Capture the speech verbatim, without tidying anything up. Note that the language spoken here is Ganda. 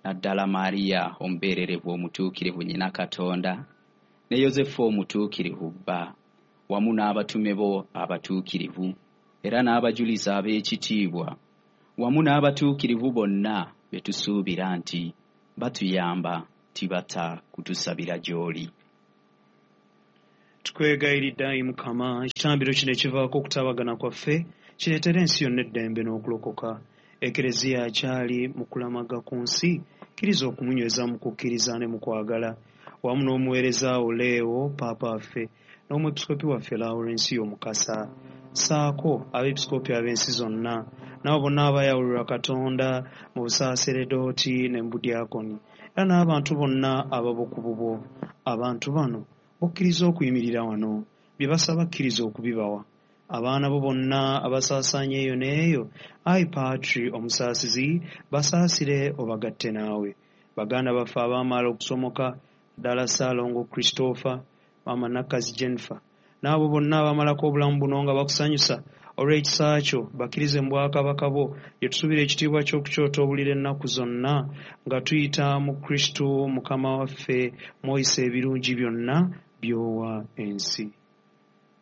Naddala Mariya omubeererevu omutuukirivu nnyina Katonda, ne Yozefu omutuukirivu bba, wamu n'abatume bo abatuukirivu, era n'abajulizi ab'ekitiibwa, wamu n'abatuukirivu bonna be tusuubira nti batuyamba tibata kutusabira gy'oli. Tukwegayiridde ayi Mukama, ekitambiro kino ekivaako okutabagana kwaffe kireetere ensi yonna eddembe n'okulokoka. Ekereziya akyali mu kulamaga ku nsi, kkiriza okumunyweza mu kukkiriza ne mu kwagala, wamu n'omuweereza wo Leo Paapa waffe n'omwepiskopi waffe Lawurensiyo Mukasa, ssaako abeepiskopi ab'ensi zonna n'abo bonna abayawulirwa Katonda mu busaaseredooti ne mu budyakoni, era n'abantu bonna ababo ku bubwo. Abantu bano bokkiriza okuyimirira wano, bye basaba kkiriza okubibawa. Abaana bo bonna abasaasaanye eyo n'eyo, ayi Patri omusaasizi, basaasire obagatte naawe. Baganda baffe abaamala okusomoka, ddala Ssaalongo Christopher, Maama Nakkazi Jennifer, n'abo bonna abamalako obulamu buno nga bakusanyusa olw'ekisa kyo, bakkirize mu bwakabaka bwo gye tusuubira ekitiibwa ky'okukyota obulira ennaku zonna, nga tuyita mu Kristo Mukama waffe mw'oyisa ebirungi byonna by'owa ensi.